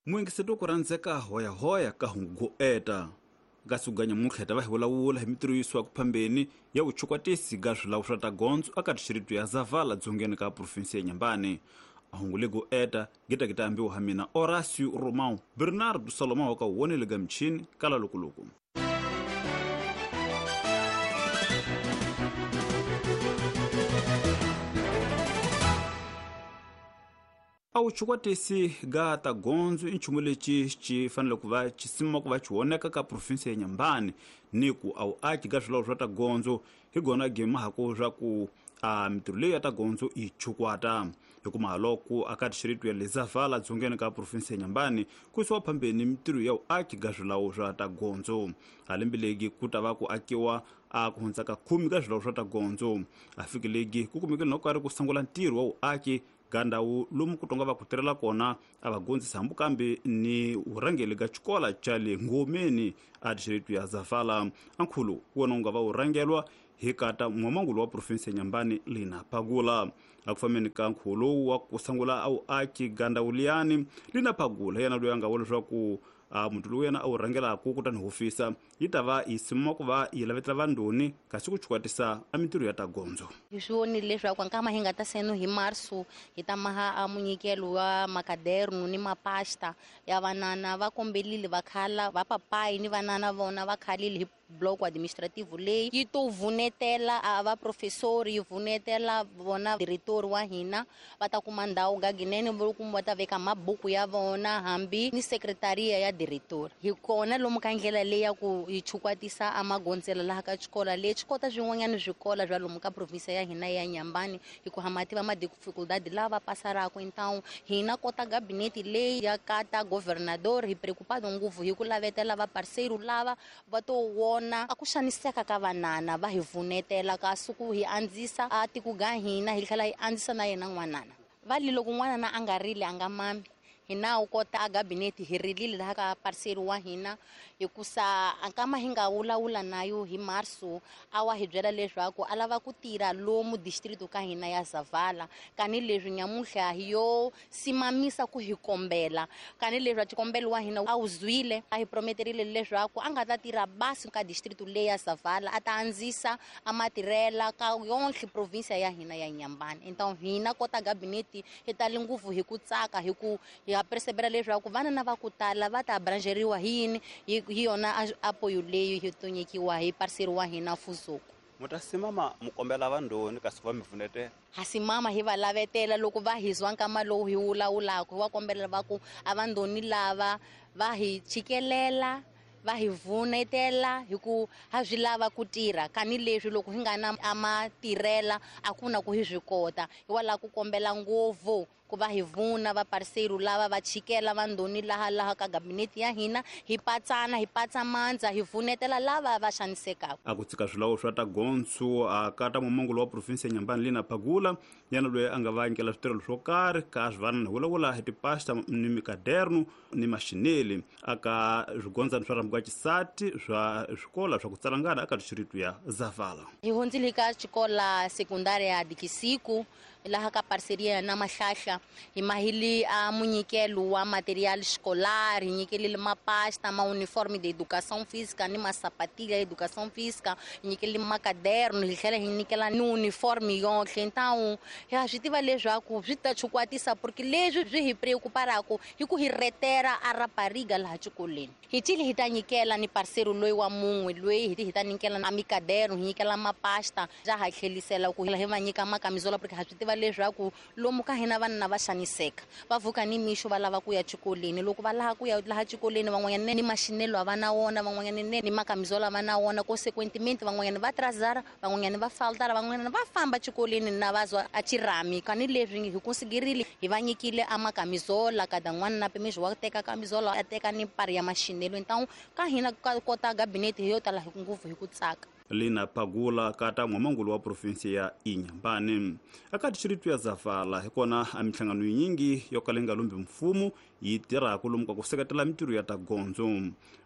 Muengeseto ku rhandzeka hoyahoya ka hungu eta kasi ku nyamuntlha hi ta va hi vulavula hi mitirho yisiwaka phambeni ya vuchukwatisi ga swilawu swa ta gondzo aka dixiritu ya Zavala dzongeni ka provinsi ya Nyambani. Ahungu lego eta gita gita ambiwa ha mina Horacio Romão Bernardo Salomão ka wonele ga michini kala lokoloku. A wu chukwatisi ga ta gondzo i nchumu lexi xi fanele ku va xi sima ku va xi voneka ka provinsi ya Nyambani ni ku a wu aki ga swilawu swa ta gondzo hi gona gimahaku swa ku a mitirho leyi ya ta gondzo yi chukwata hikuma loko aka dixiritu ya Lezavala dzongeni ka provinsi ya Nyambani ku yisiwa phambeni mitirho ya vuaki ga swilawu swa ta gondzo. A lembe legi ku ta va ku akiwa a ku hundza ka 10 ka swilawu swa ta gondzo. A fiki legi ku kumekile no karhi ku sungula ntirho wa vuaki ga ndhawu lomu ku tonga va ku tirhela kona a va gondzisa hambu kambe ni vurhangeli ga xikola xa le Ngomeni a dixiritu ya Zavala. Ankhulu wona wu nga va wu rhangelwa hi kata n'wamangulu wa provinsi ya Nyambani Lina Phagula. A ku fambeni ka nkhuvo wa ku sungula a wu aki ga ndhawu liyani, Lina Phagula yena loyi a nga vula leswaku a muti lowu yena a wu rhangelaka kutani hofisa yi ta va yi sima ku va yi lavetela vandoni kasi ku chukwatisa a mitirho ya ta gondzo. Hi swi vonile leswaku nkama hi nga ta seno hi marso hi ta maha a munyikelo wa makaderno ni mapasta ya vanana va kombelile va khala va papayi ni vanana vona va khalile hi bloco administrativo leyi yi to vunetela a va professori yi vunetela vona diretori wa hina va ta kuma ndhawu gaginene kumbe va ta veka mabuku ya vona hambi ni sekretaria ya diretori. Hi kona lomu ka ndlela leyi ya ku hi chukwatisa a magondzela laha ka xikola leyi xi kota swin'wanyana swikola swa lomu ka provinsi ya hina ya Nyambani hi ku ha tiva ma dificuldade lava pasaraka. Então hina kota gabinete leyi ya kata governador hi preocupado ngopfu hi ku lavetela va parceiro lava va to wona a ku xaniseka ka vanana va hi vunetela kasi ku hi andzisa a tiko ga hina hi tlhela hi andzisa na yena n'wanana. Va li loko n'wanana a nga rili a nga mami hina wu kota a gabinete hi rilile laha ka parcelo wa hina hikusa nkama hi nga vulavula nayo hi marso a wa hi byela leswaku a lava ku tirha lomu district ka hina ya Zavala kani leswi nyamuhla hi yo simamisa ku hi kombela kani leswi a xikombelo wa hina a wu zwile a hi prometerile leswaku a nga ta tirha basi ka district leyi ya Zavala a ta andzisa a matirhela ka yonke province ya hina ya Nyambani. Então hina kota gabinete hi tali ngopfu hi ku tsaka hi ku hi ha persevera leswaku vana na va ku tala va ta abrangeriwa hi yini hi yona apoyo leyi hi to nyikiwa hi parcelo wa hina Fuzuku. Mutasimama mukombela vandoni kasi va mi pfunetela. Ha simama hi va lavetela loko va hi zwa nkama lowu hi vulavulaka hi va kombela va ku a vandoni lava va hi chikelela va hi vunetela hi ku ha swi lava ku tirha kani leswi loko hi nga na a matirhela a ku na ku hi swi kota hi wa lava ku kombela ngopfu ku va hi vuna va parcelo lava va chikela vandoni laha laha ka gabinete ya hina hi patsana hi patsa mandza hi vunetela lava va xanisekaka. A ku tshika swilawu swa ta gondzo a kata mumongo wa provinsi ya Nyambani Lina Phagula yena loyi a nga va nyikela switirhelo swo karhi ka swivanana hi vulavula hi tipasta ni mikaderno ni maxineli aka swigondzana swa rhambu ka xisati swa swikola swa ku tsalangana aka dixiritu ya Zavala. Hi hundzile ka xikola sekundari ya Dikisiku laha ka parceria na Mahlahla hi mahili a munyikelo wa material escolar hi nyikelile mapasta ma uniforme de educação física ni masapatilha ya educação física hi nyikelile makaderno hi tlhela hi nyikela ni uniforme yohle. Então ha swi tiva leswaku swi ta chukwatisa porque leswi swi hi preocuparaka hi ku hi retera a rapariga laha xikolweni. Hi tile hi ta nyikela ni parcelo loyi wa mun'we loyi hi ta nyikela na mikaderno hi nyikela mapasta ja ha tlhelisela ku hi va nyika makamizola porque ha swi tiva leswaku lomu ka hina vanhu va xaniseka va vuka ni mixo va lava ku ya xikolweni loko va lava ku ya laha xikolweni van'wanyana ni maxinelo a va na wona van'wanyana ni makamizola va na wona consequentemente van'wanyana va trazara van'wanyana va faltara van'wanyana va famba xikolweni na va zwa a chirami kani leswi hi considerile hi va nyikile a makamizola kada n'wana na pimixo wa teka kamizola a teka ni pari ya maxinelo. Então ka hina ka kota gabinete hi yo tala hi ngopfu hi ku tsaka. Lina Phagula kata n'wamangulu wa provinsi ya Inhambane. Aka dixiritu ya Zavala hi kona a minhlangano yinyingi yo kala yi nga lumbi mfumo yi tirhaka lomu ka ku seketela mitirho ya ta gondzo.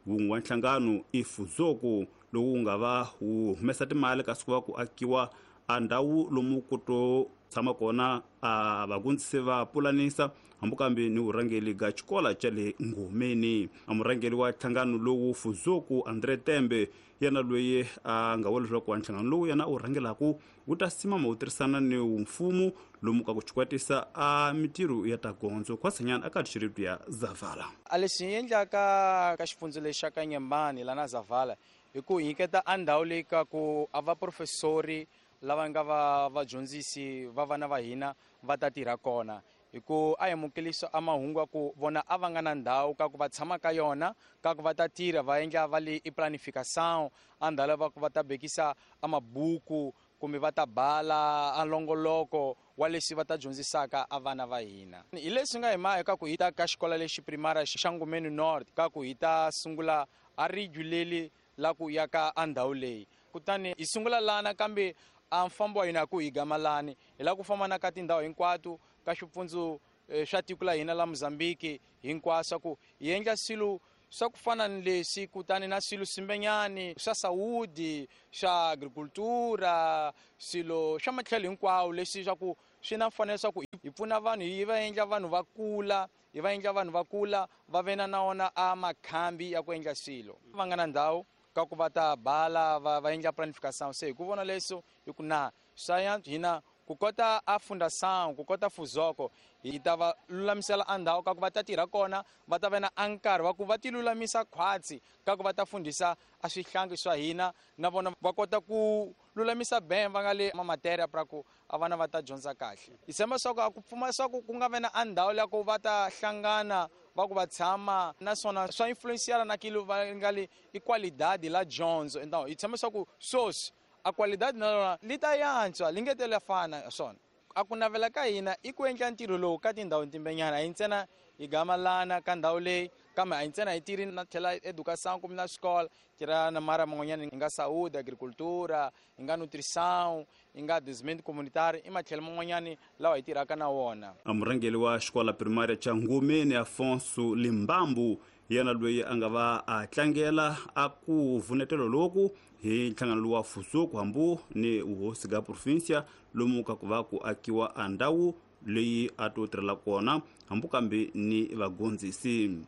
Wun'we wa nhlangano i Fuzoku lowu wu nga va wu humesa timali kasi ku va ku akiwa a ndhawu lomu ku to tshama kona a vagondzisi va pulanisa hambi kambe ni vurhangeli ga xikola xa le Ngomeni. A murhangeli wa nhlangano lowu Fuzoku Andre Tembe yena loyi a nga vula leswaku nhlangano lowu yena u rhangelaku wu ta simama wu tirhisana ni mfumo lomu ka ku xikwatisa a mitirho ya ta gondzo khwasanyana aka xiritu ya Zavala. A leswi hi endlaka ka xifundza lexi xa ka Nyembani lana Zavala hi ku nyiketa a ndhawu leyi ka ku a va professori lava nga va vadyondzisi va vana va hina va ta tirha kona, hi ku a amukelisa a mahungu ya ku vona a va nga na ndhawu ka ku va tshama ka yona, ka ku va ta tirha va endla va le i planification a ndhawu va ku va ta bekisa a mabuku kumbe va ta bala a longoloko wa leswi va ta dyondzisaka a vana va hina. Hi leswi nga hi maya ka ku hi ta ka xikolo lexi primary xa Ngomeni North ka ku hi ta sungula a riguleli la ku ya ka a ndhawu leyi, kutani hi sungula lana kambe a mfambo wa hina ku hi gamalani hi la ku famba na ka tindhawu hinkwato ka swipfundzu swa tiko la hina la Mozambique hinkwaswo ku hi endla swilo swa ku fana ni leswi, kutani na swilo swimbenyani swa saúde, swa agricultura, swilo swa matlhelo hinkwawo leswi swa ku swi na mfanelo swa ku hi pfuna vanhu, hi va endla vanhu va kula, hi va endla vanhu va kula va ve na wona a makhambi ya ku endla swilo. Va nga na ndhawu ka ku va ta bala va endla planification, se hi ku vona leswo hi ku na swa hina ku kota a fundação, ku kota Fuzoko hi ta va lulamisela a ndhawu ka ku va ta tirha kona, va ta va na a nkarhi wa ku va ti lulamisa khwatsi ka ku va ta fundisa a swihlangi swa hina, na vona va kota ku lulamisa ben va nga le ma matéria pra ku a vana va ta dyondza kahle. Hi tshemba swa ku a ku pfumala swa ku ku nga ve na a ndhawu ya ku va ta hlangana va ku va tshama, naswona swa influenciana na kilo va nga le i qualidade la dyondzo. Então hi tshemba swa ku sweswi a qualidade na yona li ta yantswa li nge tele fana swona. A ku navela ka hina i ku endla ntirho lowu ka tindhawu timbenyana, a hi ntsena hi gamalana ka ndhawu leyi, kambe a hi ntsena hi tirhi na tlhela educação kumbe na xikolo tirha na mara man'wanyana, hi nga saúde, agricultura, hi nga nutrição, hi nga desenvolvimento communitário, i matlhelo man'wanyani lawa hi tirhaka na wona. A murhangeri wa xikola primária xa Ngomeni Afonso Limbambu yena loyi a nga va a tlangela a ku vunetelo loku hi nhlangano lowu wa Fuzoku hambu ni vuhosi ga província lomu ka ku va ku akiwa a ndhawu leyi a to tirhela kona hambu kambe ni vagondzisi.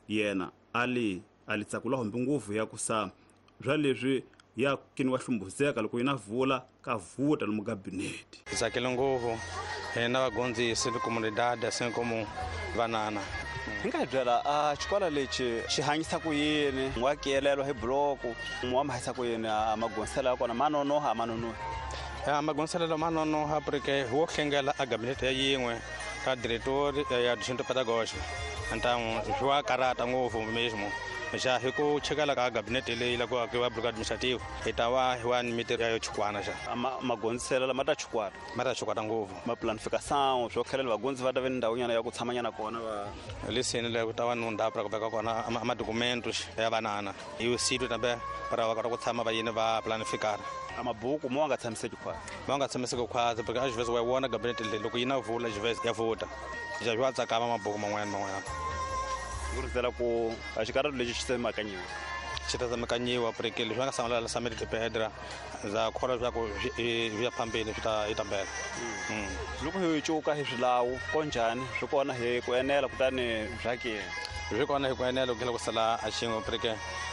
Yena ali ali tsakula hombe ngopfu ya ku sa swa leswi ya kini wa hlumbuzeka loko yina vula ka vuta lomu gabinete. Hi tsakile ngopfu hina vagondzisi ni comunidade assim como vanana. Hi nga hi byela a xikolo lexi xi hanyisa ku yini, wa kelelwa hi bloku, wa mahanyisa ku yini, a magondziselo ya kona ma nonoha a ma nonohi? Ya magondziselo ma nonoha porque wo hlengela a gabinete ya yin'we ka diretor ya junto pedagógico, então swi wa karata ngopfu mesmo. Já hi ku chekela ka gabinete leyi la ku akiwa bloco administrativo hi ta va hi wa ni mitirho ya yo chukwana xa. Magondziselo lama ta chukwata. Ma ta chukwata ngopfu. Ma planification swo khelela vagondzisi va ta ve ni ndhawunyana ya ku tshamanyana kona va lisini le ku ta va ni ndhawu pra ku veka kona a madocumentos ya vanana hi sitio tambe para va kota ku tshama va yini va planificar. A mabuku mo nga tshamiseki khwatsi. Ma nga tshamiseki khwatsi porque às vezes wa vona gabinete leyi loko yi na vula às vezes ya vuta. Já swi wa tsakama mabuku man'wanyana man'wanyana. Ku rindzela ku a xikarhatu lexi xi tsemekanyiwa. Xi ta tsemekanyiwa porque leswi va nga sangula la Samedi de Pedra ndza kholwa leswaku swi ya phambeni swi ta yi ta mbela. Loko hi cuka hi swilawu ko njhani swi kona hi ku enela kutani bya ke? Swi kona hi ku enela ku tlhela ku sala a xin'we porque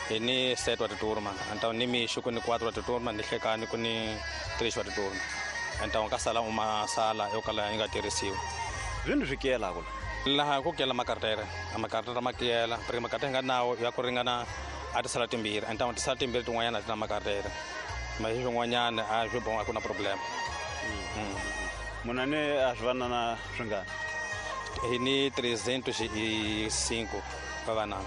hi ni 7 wa titurma, então ni mixo ku ni 4 wa titurma, ni hlekani ku ni 3 wa titurma, então ka sala uma sala yo kala yi nga tirhisiwi. Zwini swi kiyelaka la? Laha ku kiyela makartere, a makartere ma kiyela porque makartere hi nga nawo ya ku ringana a tisala timbirhi, então tisala timbirhi tin'wanyana a ti na makartere, ma hi swin'wanyana a swi boha a ku na problem. Muna ni a swi vanana swi ngani? Hi ni 305 va vanana.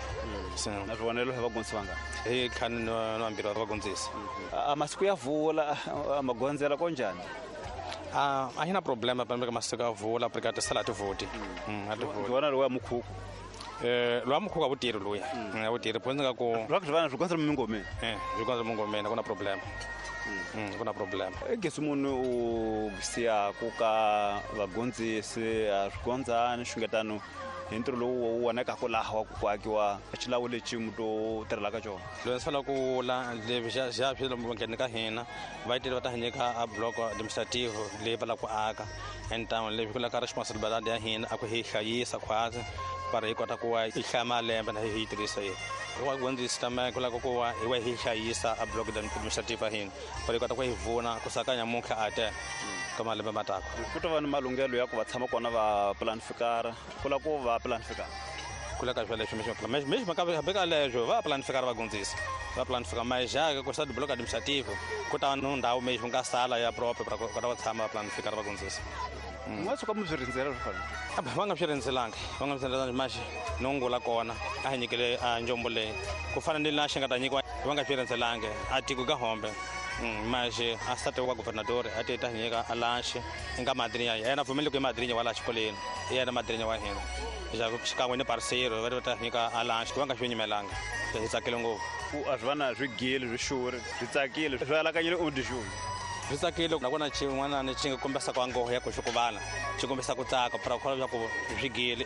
Na swivonelo hi vagondzisi vangani? Hi ntlhanu na vambirhi va vagondzisi. A masiku ya vula, a magondzela ko njhani? A hi na problema pambe ka masiku ya vula porque a tisala a ti voti. A ti voti. Ndzi vona lowa mukhuku. Lowa mukhuku a wu tirhi luya. A wu tirhi, pho ndzi nga ku Lwa ku swi vana swi gondzela mingomeni. Swi gondzela mingomeni, a ku na problem. Ku na problema. Gesi munhu u siyaku ka vagondzisi a swigondzani xungetano hi ntirho lowu wu vonekaka laha wa ku akiwa xilawu lexi muti u tirhelaka xona. Loyi swi fanele ku wula leswi xa swi lomu ngheni ka hina va yitele va ta hi nyika a block administrative leyi va lava ku aka entamu leswi ku laka responsibility ya hina a ku hi hlayisa khwatsi va ri hi kota ku va hi hlaya malembe na hi yi tirhisa yi wa gondzisi tama ku lava ku va hi wa hi hlayisa a block administrative ya hina va ri kota ku hi vuna ku saka nyamuntlha a te ka malembe matako. Ku ta va ni malunghelo ya ku va tshama kona va planifikara ku lava ku va planifikara ku laka swa leswi mesmo hambi ka leswo va planifikara va gondzisa va planifika mas já ku sa bloco administrativo ku ta no ndhawu mesmo nga sala ya próprio para kota ku tshama va planifikara va gondzisa. Nga suka mi swi rindzela swi fanele va nga swi rindzelangi va nga swi rindzelangi mas nongula kona a hi nyikele a njombo leyi ku fana ni la xi nga ta nyikiwa va nga swi rindzelangi a tiko ka hombe. Mas a state wa governador a ti ta nyika a lanche nga madrinha yena pfumeli ku i madrinha wa la xikolweni i yena madrinha wa hina ja xikan'we ni parceiro va ta nyika a lanche va nga swi nyimelanga hi tsakile ngopfu. Ku a swi va na swi gile swi xuri swi tsakile swi alakanyile u dixuni swi tsakile nakona xin'wana xi nga kombisa ku angoho ya ku xi ku vana xi kombisa ku tsaka para ku kholwa ku swi gile.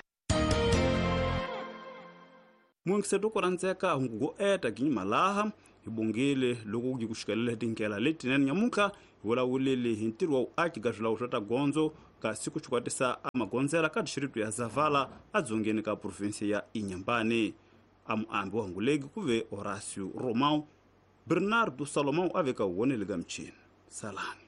Muengiseto ku rhandzeka hungu go eta ginyimalaha hi bongile loko ku xikelele tindlela letinene nyamuntlha hi vulavulele hi ntirho wa vuaki ka swilawu swa ta gondzo kasi ku xikwatisa a magondzela ka dixiritu ya Zavala edzongeni ka provinsi ya Inhambane. A muambi wa hunguleki ku ve Horacio Romão. Bernardo Salomão a veka wonele ka michini. Salani.